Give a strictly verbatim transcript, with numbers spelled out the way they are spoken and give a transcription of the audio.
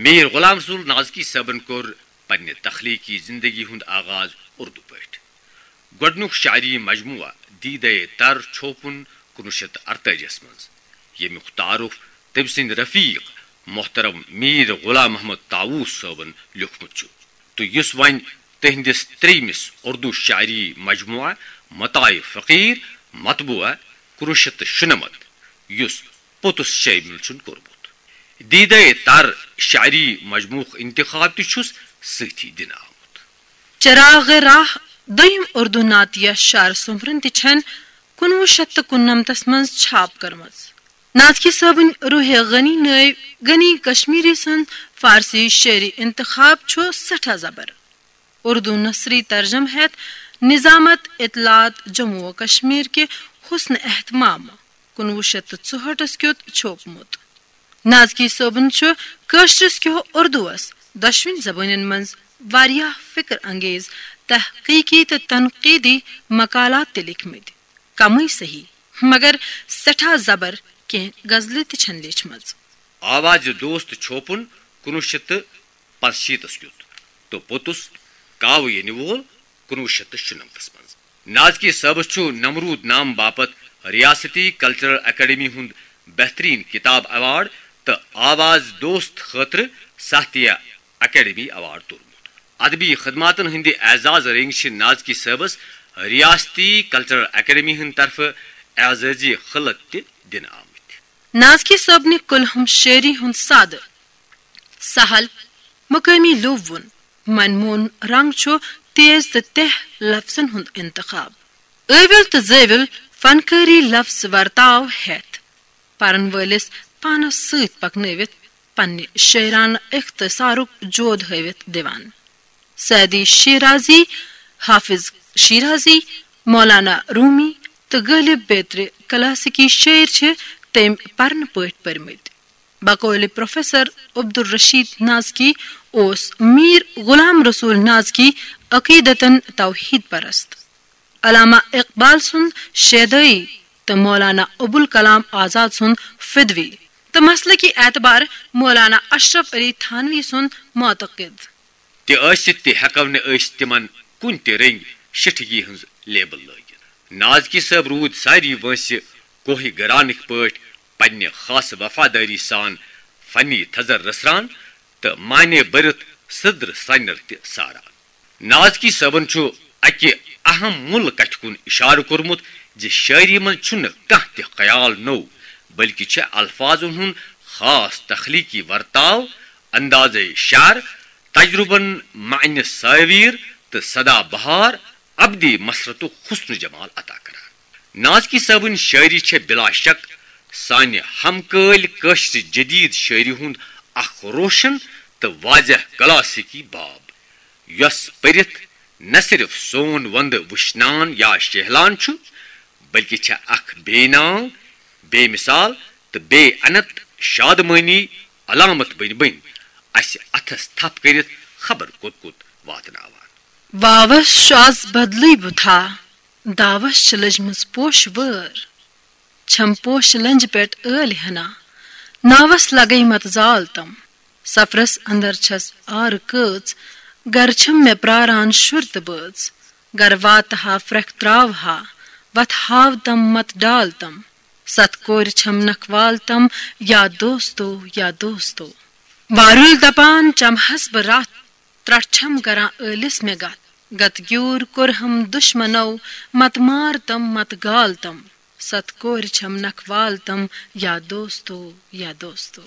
میر غلام رسول نازکی صٲبن کوٚر پننہِ تخلیقی زندگی ہُنٛد آغاز اردو پٲٹھۍ۔ گۄڈٕنیُک شاعری مجموعہٕ دیدے تر چھوپُن کُنوُہ شیٚتھ تہٕ ارتٲجی منٛز، ییٚمیُک تعارُف تٔمۍ سٕنٛدۍ رفیق محترم میر غلام محمد طاووس صٲبن لیوٚکھمُت چھُ، تہٕ یُس وۄنۍ تہنٛدِس ترٛیٚیمِس اردو شاعری مجموعہٕ متاع فقیر، مطبوعہ کُنوُہ شیٚتھ تہٕ شُنَمتھ، یُس پوٚتُس شٲمِل چھُن کوٚرمُت۔ دیدے تر شاعری مجموعُک انتخاب تہِ چھُس سۭتھی دِنہٕ آمُت۔ چراغ راہ دوٚیم اردو نعتیہ شعر سومبرن تہِ چھن کُنوُہ شیٚتھ تہٕ کُننمتس منٛز چھاپ کٔرمٕژ۔ نازکی صٲبٕنۍ روح غنی نٲوۍ غنی کشمیری سُنٛد فارسی شعری انتخاب چھُ سٮ۪ٹھاہ زبر۔ اردو نثری ترجمہٕ ہٮ۪تھ نظامت اطلاعات جموں و کشمیر کہِ حسن اہتمام کُنوُہ شیٚتھ تہٕ ژُہٲٹھس کیُت چھوپمُت۔ نازکی صٲبن چھُ کٲشرِس کیو اردوس دۄشوٕنۍ زبٲنٮ۪ن منٛز واریاہ فکر انگیز تحقیقی تہٕ تنقیدی مقالات تہِ لیکھمٕتۍ۔ کمٕے صحیح، مگر سٮ۪ٹھاہ زبر کینٛہہ غزلہٕ تہِ چھن لیچھمٕژ۔ آوازِ دوست چھوپُن کُنوُہ شیٚتھ تہٕ پانٛژشیٖتس کیُت تہٕ پوٚتُس کاوٕ ینہِ وول کُنوُہ شیٚتھ تہٕ شُنمتس منٛز۔ نازکی صٲبس چھُ نمروٗد نام باپتھ ریاستی کلچرل اکیڈمی ہُنٛد بہترین کتاب ایوارڈ تہٕ آواز دوست خٲطرٕ ساہتیہ اکیڈمی ایوارڈ توٚرمُت۔ ادبی خدماتن ہٕنٛدِ اعزاز رنگۍ چھِ نازکی صٲبس ریاستی کلچرل اکیڈمی ہٕنٛدِ طرفہٕ اعزازی خلعت تہِ دِنہٕ آمٕتۍ۔ نازکی صٲبنہِ کلہم شٲعری ہُنٛد سادٕ، سہل، مقٲمی لوٗبوُن، من مون رنگ چھُ تیز تہٕ تیہ لفظن ہُنٛد انتخاب۔ ٲوِل تہٕ زٲوِل فنکٲری لفظ ورتاو ہٮ۪تھ پرن وٲلِس پانس سۭتۍ پکنٲوِتھ پننہِ شٲعرانہٕ اختصارُک جود ہٲوِتھ دِوان۔ سعدی شیرازی، حافظ شیرازی، مولانا رومی تہٕ غٲلب بیترِ کلاسیکی شٲعر چھِ تٔمۍ پرنہٕ پٲٹھۍ پٔرمٕتۍ۔ بقولِ پروفیسر عبدالرشید نازکی اوس میر غلام رسول نازکی عقیدتن توحید پرست۔ علامہ اقبال سُنٛد شیدٲئی تہٕ مولانا ابوالکلام آزاد سُنٛد فدوی تہٕ مسلکی اعتبار مولانا اشرف علی تھانوی سُنٛد معتقد۔ تہِ ٲسِتھ تہِ ہٮ۪کو نہٕ أسۍ تِمن کُنہِ تہِ رٔنگۍ شِٹھگی ہٕنٛز لیبل لٲگِتھ۔ نازکی صٲب روٗدۍ ساری وٲنٛسہِ کوہہِ گرانٕکۍ پٲٹھۍ پننہِ خاص وفادٲری سان فنی تھزر رژھران تہٕ معنی بٔرِتھ سٕدرٕ سرٛنٮ۪ر تہِ ساران۔ نازکی صٲبن چھُ اکہِ اہم مُل کتھِ کُن اشارٕ کوٚرمُت زِ شٲعری منٛز چھُنہٕ کانٛہہ تہِ خیال نوٚو، بلکہِ چھِ الفاظن ہُنٛد خاص تخلیقی ورتاو، اندازے شعر، تجربن معنی ساویر تہٕ سدا بہار ابدی مسرتُک حسن و جمال عطا کران۔ نازکی صٲبٕنۍ شٲعری چھےٚ بلا شک سانہِ ہمکٲلۍ کٲشرِ جدید شٲعری ہُنٛد اکھ روشن تہٕ واضح کلاسیکی باب، یۄس پٔرِتھ نہ صرف سون وندٕ وُشنان یا شیہلان چھُ، بلکہِ چھےٚ اکھ بے ناو، بے مثال تہٕ بے انت شادمٲنی علامت بٔنۍ بٔنۍ اسہِ اتھس تھپھ کٔرِتھ خبر کوٚت کوٚت واتناوان۔ واوس چھُ از بدلٕے بُتھا، داوس چھِ لٔجمٕژ پوشہٕ وٲر۔ چھَم پوشہٕ لنجہِ پٮ۪ٹھ ٲلۍ ہنا، ناوس لگے مت زال تم۔ سفرس اندر چھَس آرٕ کٲژ، گرٕ چھَم مےٚ پراران شُر تہٕ بٲژ۔ گرٕ واتہٕ ہا پھرٛکھ تراوٕ ہا، وتھ ہاو تم مت ڈال تم۔ ستھ کورِ چھَم نکھوال تم، یا دوستو، یا دوستو۔ وارُل دپان چمہس بہٕ رتھ، ترٹھ چھم کران ٲلِس مےٚ گتھ۔ گتہٕ گیوٗر کوٚرہم دُشمنو، مت مار تم، مت گال تم۔ ست کورِ چھم نکھوال تم، یا دوستو، یا دوستو۔